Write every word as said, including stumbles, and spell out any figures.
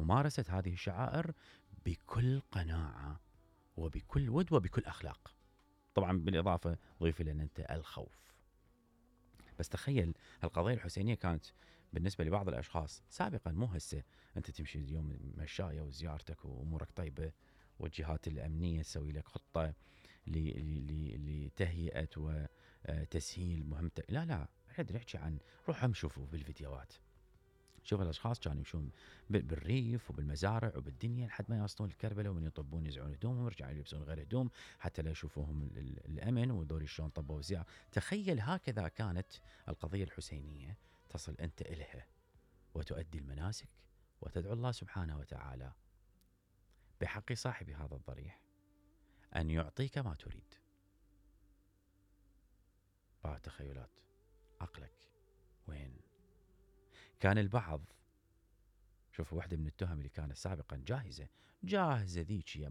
ممارسة هذه الشعائر بكل قناعة وبكل ود وبكل أخلاق. طبعا بالإضافة ضيف لنا أنت الخوف. بس تخيل القضية الحسينية كانت بالنسبة لبعض الأشخاص سابقا، مو هسه. أنت تمشي اليوم مشاية وزيارتك وأمورك طيبة، والجهات الأمنية تسوي لك خطة لتهيئة وتسهيل مهمتك. لا لا، احنا نحكي عن روح هم شوفوا بالفيديوهات، شوف الأشخاص كانوا يمشون بالريف وبالمزارع وبالدنيا لحد ما يوصلون الكربلة، ومن يطبون يزعون هدومهم ويرجعون يلبسون غير هدوم حتى لا يشوفوهم الأمن، وذول شلون طبوا زيارة. تخيل هكذا كانت القضية الحسينية، تصل أنت إليها وتؤدي المناسك وتدعو الله سبحانه وتعالى بحق صاحب هذا الضريح أن يعطيك ما تريد. بعض تخيلات عقلك وين؟ كان البعض، شوفوا واحدة من التهم اللي كانت سابقا جاهزة جاهزة ذيك هي